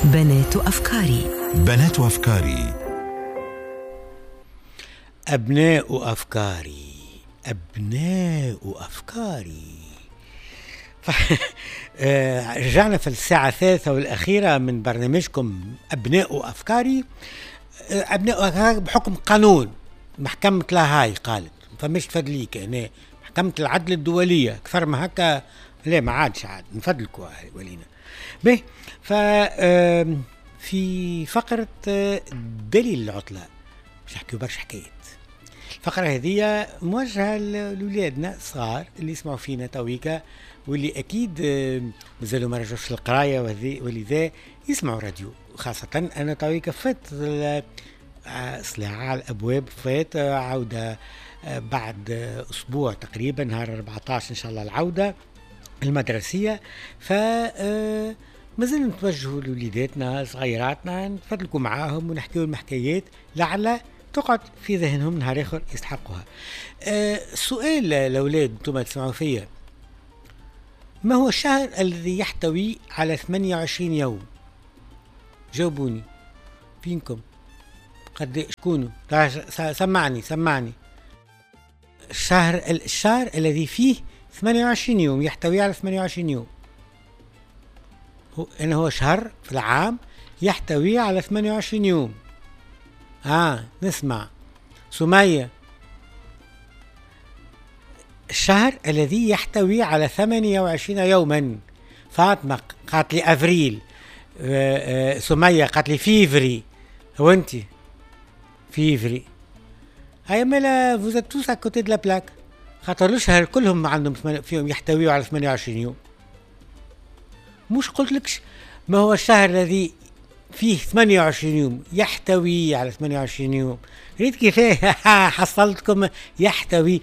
بنات أفكاري. بنات أفكاري. أبناء أفكاري، أبناء أفكاري. رجعنا في الساعة الثالثة والأخيرة من برنامجكم أبناء أفكاري. أبناء أفكاري بحكم قانون محكمة لاهاي قالت فمش تفدليك هنا، محكمة العدل الدولية أكثر ما هكا لا ما عادش عاد نفدلكوا ولينا به. ف في فقرة دليل العطلة باش نحكيو برشا حكايات. الفقرة هذه موجهة لولادنا الصغار اللي يسمعوا فينا تويكا واللي أكيد مازالوا ما رجعوش للقراية ولذا يسمعوا راديو، خاصة أنا تويكا فات سلاعة على الأبواب، فات عودة بعد أسبوع تقريبا نهار 14 إن شاء الله العودة المدرسية. ف مازلنا نتوجهوا لوليداتنا صغيراتنا نتفضلكوا معاهم ونحكيوا لهم حكايات لعل تقعد في ذهنهم نهار آخر يستحقوها. سؤال الأولاد انتم تسمعوا فيا، ما هو الشهر الذي يحتوي على 28 يوم؟ جاوبوني فينكم قد شكونوا؟ سمعني. الشهر الذي فيه 28 يوم، يحتوي على 28 يوم، هو هو شهر في العام يحتوي على 28 يوم. نسمع سمية. الشهر الذي يحتوي على 28 يوما. فاطمة قالت لي أفريل، سمية قالت لي فيفري، وانت فيفري. هيا مالا vous êtes tous à côté de la plaque، خاطر الشهر كلهم عندهم فيهم يحتويوا على 28 يوم. مش قلت لكش ما هو الشهر الذي فيه 28 يوم يحتوي على 28 يوم؟ ريت كيفاه حصلتكم. يحتوي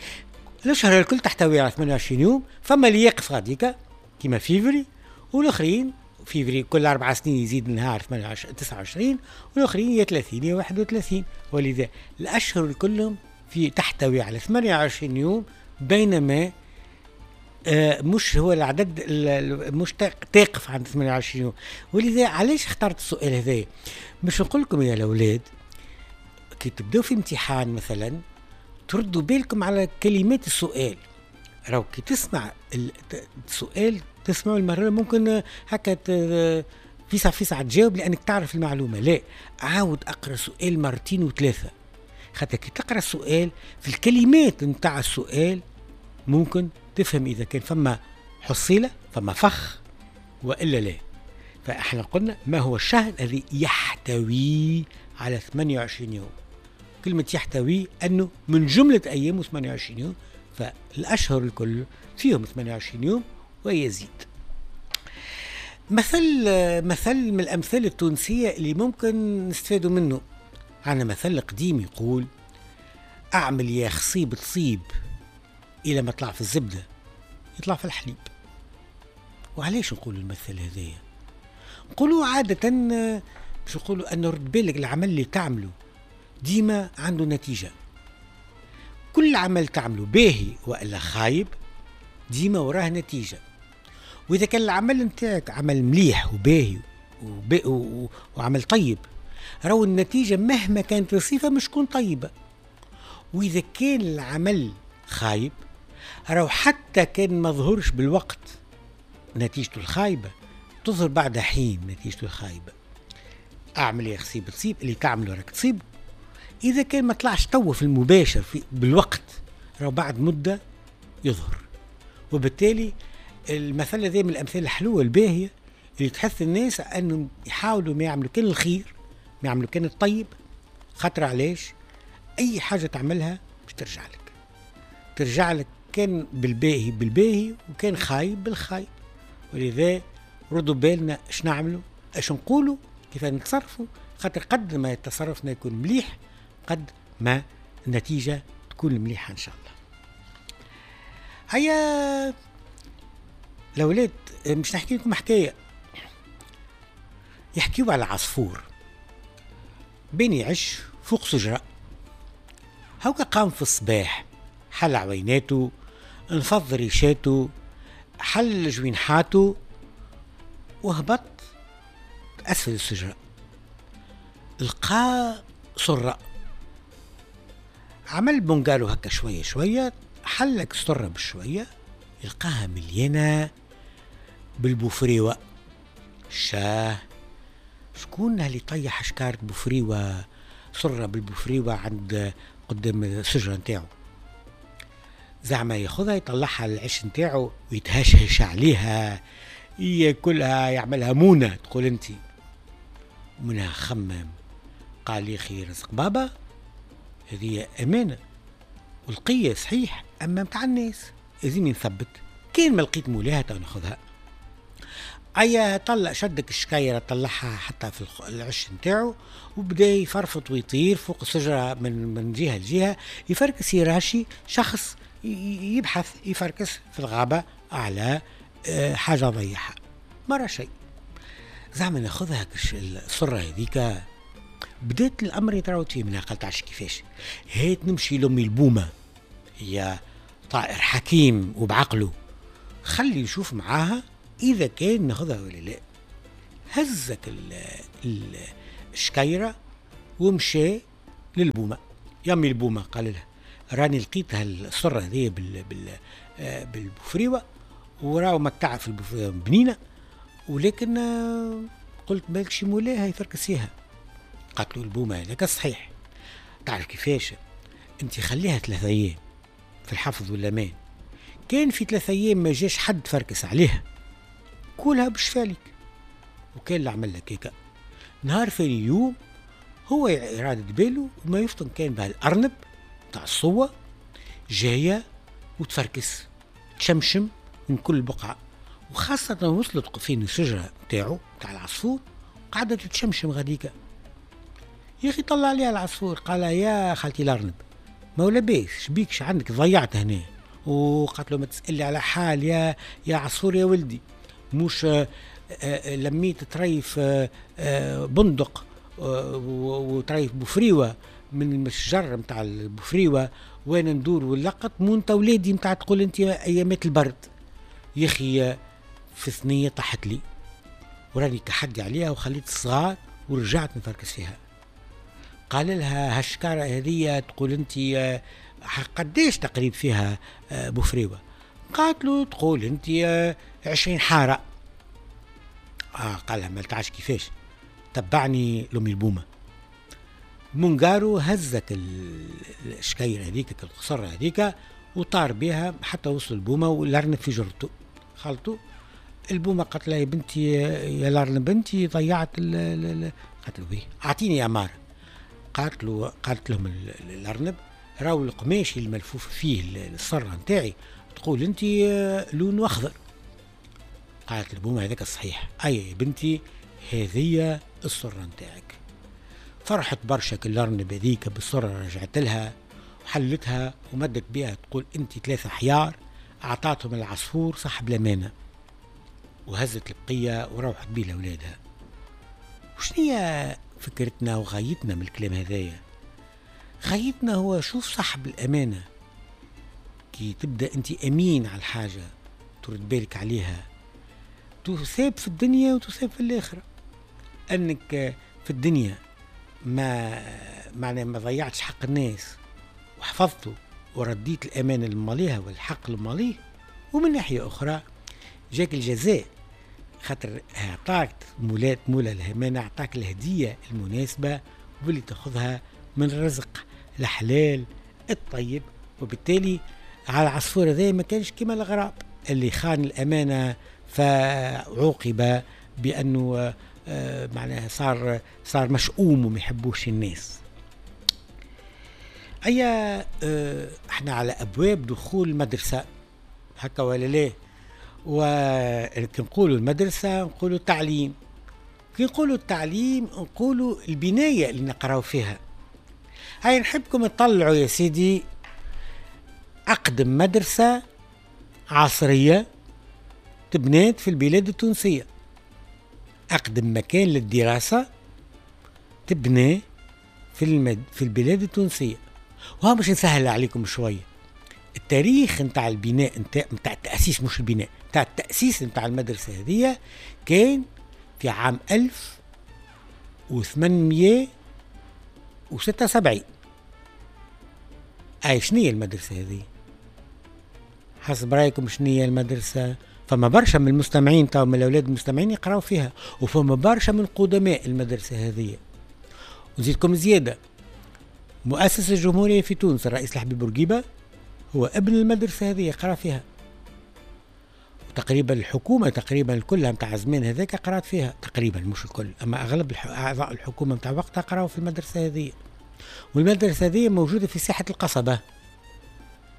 الشهر الكل تحتوي على 28 يوم، فما اللي يقف غاديكا كيما فيفري، والاخرين فيفري كل 4 سنين يزيد نهار 29، والاخرين يا 30 يا 31. ولذا الاشهر كلهم في تحتوي على 28 يوم، بينما مش هو العدد مش تقف عند 28 يوم. ولذا علاش اخترت السؤال هذا؟ باش نقول لكم يا الاولاد كي تبداو في امتحان مثلا تردوا بالكم على كلمات السؤال. راهو كي تسمع السؤال تسمعوا المرة ممكن هكا فيسع فيسع تجاوب لأنك تعرف المعلومة. لا، عاود أقرأ سؤال مرتين وثلاثة، خاطر كي تقرأ السؤال في الكلمات نتاع السؤال ممكن تفهم إذا كان فما حصيلة فما فخ وإلا لا. فإحنا قلنا ما هو الشهر الذي يحتوي على 28 يوم. كلمة يحتوي أنه من جملة أيامه 28 يوم، فالأشهر الكل فيهم 28 يوم ويزيد. مثل من الأمثال التونسية اللي ممكن نستفادوا منه، عندنا مثل قديم يقول أعمل يا خصيب تصيب، إلى ما طلع في الزبدة يطلع في الحليب. وعلاش نقولوا المثل هذايا؟ نقولوا عادة باش نقولوا أن رد بالك العمل اللي تعمله ديما عنده نتيجة. كل عمل تعمله باهي وإلا خايب ديما وراه نتيجة. وإذا كان العمل نتاعك عمل مليح وباهي وعمل طيب، راهو النتيجة مهما كانت الصفة مش تكون طيبة. وإذا كان العمل خايب راهو حتى كان ما ظهرش بالوقت نتيجته الخايبة تظهر بعد حين نتيجته الخايبة. أعمل يا خصيب تصيب، اللي تعمله راك تصيب. إذا كان ما طلعش تو في المباشر في بالوقت راهو بعد مدة يظهر. وبالتالي المثل هذا من الأمثال الحلوة الباهية اللي تحث الناس أنهم يحاولوا ما يعملوا كان الخير، ما يعملوا كان الطيب، خاطر علاش؟ أي حاجة تعملها باش ترجع لك، ترجع لك كان بالباهي بالباهي وكان خايب بالخايب. ولذا ردوا بالنا اش نعملوا، اش نقولوا، كيف نتصرفوا، خاطر قد ما تصرفنا يكون مليح قد ما النتيجة تكون مليحة إن شاء الله. هيا الأولاد مش نحكي لكم حكاية. يحكيوا على عصفور بين يعش فوق شجرة. هوكا قام في الصباح، حل عويناته، انفض ريشاته، حل جوينحاته، وهبط اسفل الشجرة، لقى سره، عمل بونجالو هكا شوية شوية، حلك السرة بشوية، لقاها مليانة بالبوفريوه. شاه، شكون اللي طيح شكارة بوفريوه، سره بالبوفريوه عند قدام الشجرة نتاعو؟ زعما ياخذها يطلعها للعش نتاعو ويتهشهش عليها، ياكلها، يعملها مونه تقول انت. منها خمم، قال يا اخي رزق بابا هذه امانه والقيه صحيح، اما متاع الناس لازم نثبت، كان ما لقيت مولاها تو ناخذها. ايا طلع شدك الشكايره، طلعها حتى في العش نتاعو، وبدا يفرفط ويطير فوق الشجرة من جهة لجهة، يفركس يراشي شخص يبحث يفركس في الغابة على حاجة ضيعها، مرة شيء. زعما ناخذها السرة هذيك؟ بدات الامر يتراوت فيه منها، قالت عرفت كيفاش، هات نمشي لامي البومه، هي طائر حكيم وبعقله، خلي نشوف معاها اذا كان ناخذها ولا لا. هزك الشكيره ومشى للبومه. يامي البومه، قال لها راني لقيت هالسره هذه بالبوفريوه، وراو متاع في البوفريوه بنينه، ولكن قلت بالك شي مولاها يفركسيها. قالت له البومه هذاك صحيح، تعرف كيفاش، انت خليها 3 ايام في الحفظ والامان، كان في 3 ايام ما جاش حد فركس عليها كلها بشفالك. وكان اللي عمل لك هيك نهار ثاني يوم هو إرادة باله وما يفطن كان بهالأرنب تاع الصوة جاية وتفركس تشمشم من كل بقعة، وخاصة وصلت فين الشجرة تاعو تاع العصفور قعدت تشمشم غاديكا. يا أخي طلع عليها العصفور قال يا خالتي الأرنب ما ولا بيش شبيكش عندك ضيعت هنا. وقالت له ما تسألي على حال يا عصفور يا ولدي، مش لميت طريف بندق وطريف بوفريوه من الشجر نتاع البوفريوه وانا ندور ولقط مو انت ولادي نتاع تقول انت ايامات البرد. يا اخي في ثنيه طاحت لي وراني كحدي عليها وخليت الصغار ورجعت نفركس فيها. قال لها هالشكاره هذه تقول انت قديش تقريب فيها بوفريوه؟ قالت له تقول انت 20 حارة. قال لها ما تعرفش كيفاش، تبعني لأمي البومه. منقارو هزك الشكاير هذيك القصر هذيك وطار بها حتى وصل البومه والارنب في جرته. خالته البومه قالت لها يا بنتي يا الارنب بنتي ضيعت قالت له بيه اعطيني اماره. قالت له قالت لهم الارنب راهو القماش الملفوف فيه الصره نتاعي تقول انت لونه اخضر. قالت البومه هذاك الصحيح، اي يا بنتي هذه الصره نتاعك. فرحت برشا الارنب هذيك بالصره، رجعت لها وحلتها ومدت بها تقول انت 3 حيار اعطاتهم العصفور صاحب الامانة، وهزت البقية وروحت بيه لاولادها. وشنية فكرتنا وغايتنا من الكلام هذايا؟ غايتنا هو شوف صاحب الامانة كي تبدا انت امين على الحاجة ترد بالك عليها تثاب في الدنيا وتثاب في الاخرة. انك في الدنيا ما معناه ما ضيعتش حق الناس وحفظته ورديت الامانة لماليها والحق لماليه، ومن ناحية اخرى جاك الجزاء خاطر اعطاك مولا الامانة اعطاك الهدية المناسبة واللي تاخذها من الرزق الحلال الطيب. وبالتالي على العصفور هذا ما كانش كما الغراب اللي خان الامانة فعوقب بانه معناها صار مشؤوم وما يحبوش الناس. ايا احنا على ابواب دخول المدرسة هكا ولا لا؟ وكي نقولوا المدرسة نقولوا التعليم، كي نقولوا التعليم نقولوا البناية اللي نقراو فيها. هاي نحبكم تطلعوا يا سيدي اقدم مدرسه عصرية تبنات في البلاد التونسية، أقدم مكان للدراسة تبنى في البلاد التونسية. وها باش نسهل عليكم شوية التاريخ نتاع البناء نتاع التأسيس، مش البناء، نتاع التأسيس نتاع المدرسة هذه كان في عام 1876. اي شنية المدرسة هذه؟ حسب رايكم شنية المدرسة؟ فما برشا من المستمعين تو من الاولاد المستمعين يقراو فيها، وفما برشا من قدماء المدرسة هذه. ونزيدكم زيادة، مؤسس الجمهورية في تونس الرئيس الحبيب بورقيبة هو ابن المدرسة هذه، يقرا فيها. وتقريبا الحكومة تقريبا كلها متاع زمان هذاك قرات فيها تقريبا، مش الكل، اما اغلب اعضاء الحكومة متاع وقتها قراوا في المدرسة هذه. والمدرسة هذه موجودة في ساحة القصبة.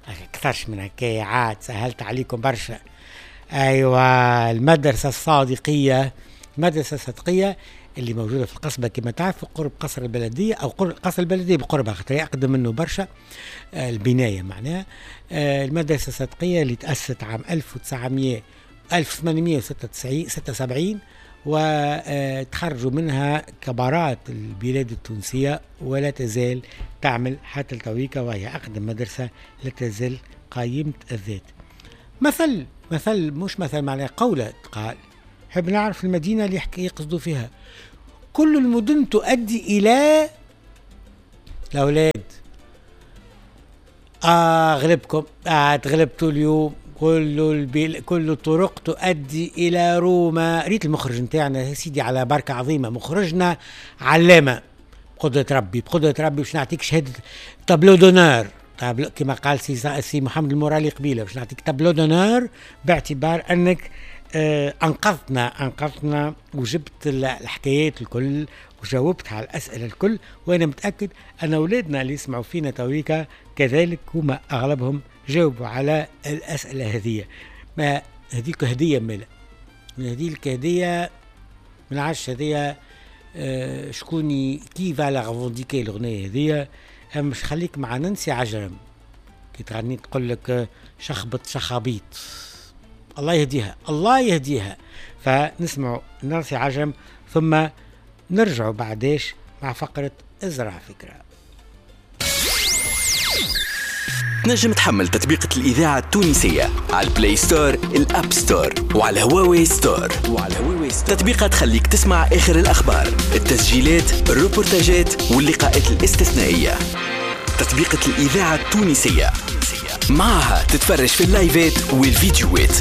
أكثرش من هكايا عاد سهلت عليكم برشا. أيوة المدرسة الصادقية، المدرسة الصادقية اللي موجودة في القصبة كما تعرفوا، قرب قصر البلدية أو قرب قصر البلدية بقربها، خاطر أقدم منه برشا البناية معناها. المدرسة الصادقية اللي تأسست عام 1876 وتخرجوا منها كبارات البلاد التونسية، ولا تزال تعمل حتى التويكا، وهي أقدم مدرسة لا تزال قائمة الذات. مثل مش مثل معناه قولة قال، حب نعرف المدينة اللي يقصدوا فيها. كل المدن تؤدي إلى الأولاد. غلبكم، تغلبتوا اليوم. كل الطرق تؤدي إلى روما. ريت المخرج نتاعنا يا سيدي على بركة عظيمة، مخرجنا علامة بقدرة ربي، بقدرة ربي باش نعطيك شهادة tableau d'honneur، كما قال سي محمد المورالي قبيلة، باش نعطيك tableau d'honneur باعتبار أنك أنقذتنا وجبت الحكايات الكل وجاوبت على الأسئلة الكل. وأنا متأكد أن أولادنا اللي يسمعوا فينا تويكا كذلك هما أغلبهم جاوبوا على الأسئلة هذه. ما هذيك هدية مالا، هذيك هدية من عادش هذية شكون qui va la revendiquer الأغنية هذية. مش خليك مع نانسي عجرم كي تغني تقول لك شخبط شخابيط، الله يهديها الله يهديها. فنسمعوا نانسي عجرم ثم نرجعوا بعداش مع فقرة ازرع فكرة. تنجم تحمل تطبيقة الإذاعة التونسية على ال Play Store، ال App Store، وعلى هواوي Store. تطبيقة تخليك تسمع آخر الأخبار، التسجيلات، الروبورتاجات واللقاءات الاستثنائية. تطبيقة الإذاعة التونسية معها تتفرج في اللايفات والفيديوهات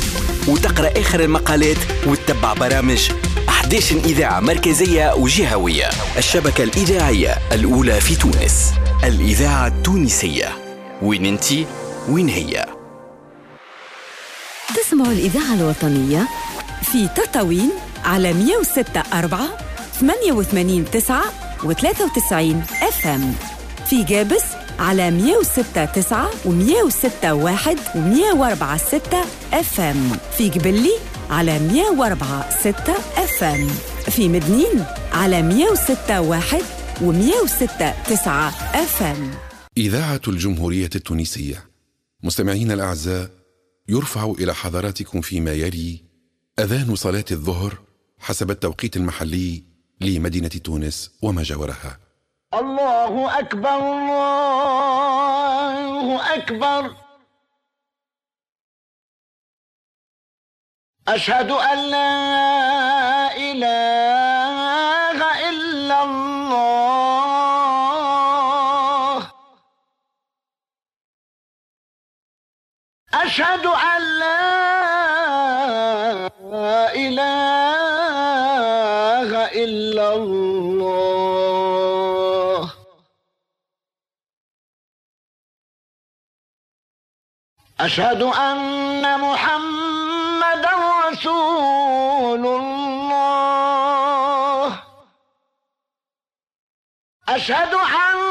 وتقرأ آخر المقالات وتتبع برامج 11 إذاعة مركزية وجهوية. الشبكة الإذاعية الأولى في تونس، الإذاعة التونسية. وين انتي وين هي؟ تسمعوا الإذاعة الوطنية في تطاوين على 106.4 88.9 و93 FM، في جابس على 106.9 و106.1 و104.6 FM، في قبلي على 104.6 FM، في مدنين على 106.1 و106.9 FM. إذاعة الجمهورية التونسية. مستمعينا الأعزاء، يرفع إلى حضراتكم فيما يلي أذان صلاة الظهر حسب التوقيت المحلي لمدينة تونس وما جاورها. الله أكبر الله أكبر، أشهد أن لا إله إلا الله، أشهد أن لا إله إلا الله، أشهد أن محمدا رسول الله، أشهد أن